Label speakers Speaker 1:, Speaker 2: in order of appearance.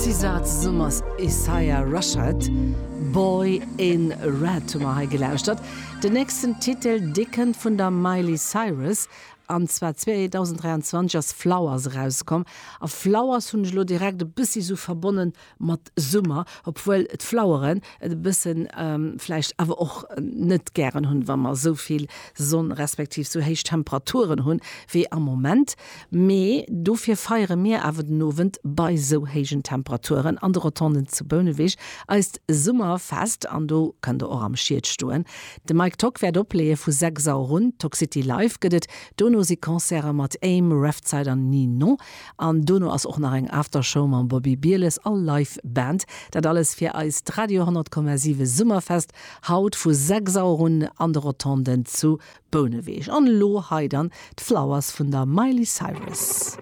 Speaker 1: SZA zesumme mat Isaiah Rashad, Boy in Red hu mer hei gelauschtert. Den nächsten Titel, dee kënnt vun der Miley Cyrus, an zwar 2023 ass Flowers erauskomm. A Flowers hunn ech elo direkt e bëssi sou verbonnen mat Summer, obwuel d'Floweren et e bëssen vläicht awer och net gären hunn, wa mer esou vill Sonn respektiv esou héich Temperaturen hunn wéi am Moment. Mee dofir feiere mir awer den Owend bei esou héijen Temperaturen an de Rotonden zu Bouneweg eist Summerfest an do kënnt der och am Schied stoen. De Mike Tock wäert opleeë vu 6 Auer un. Tockcity Live gëtt et dono si Concerte mat Aim, Refzeit an Ninon. An dono ass och nach eng Aftershow mam Bobby Bieles a Live Band. Dat alles fir eist Radio 100,7 Summerfest haut vu 6 Auer un an de Rotonden zu Bouneweg. An elo hei dann d'Flowers vun der Miley Cyrus.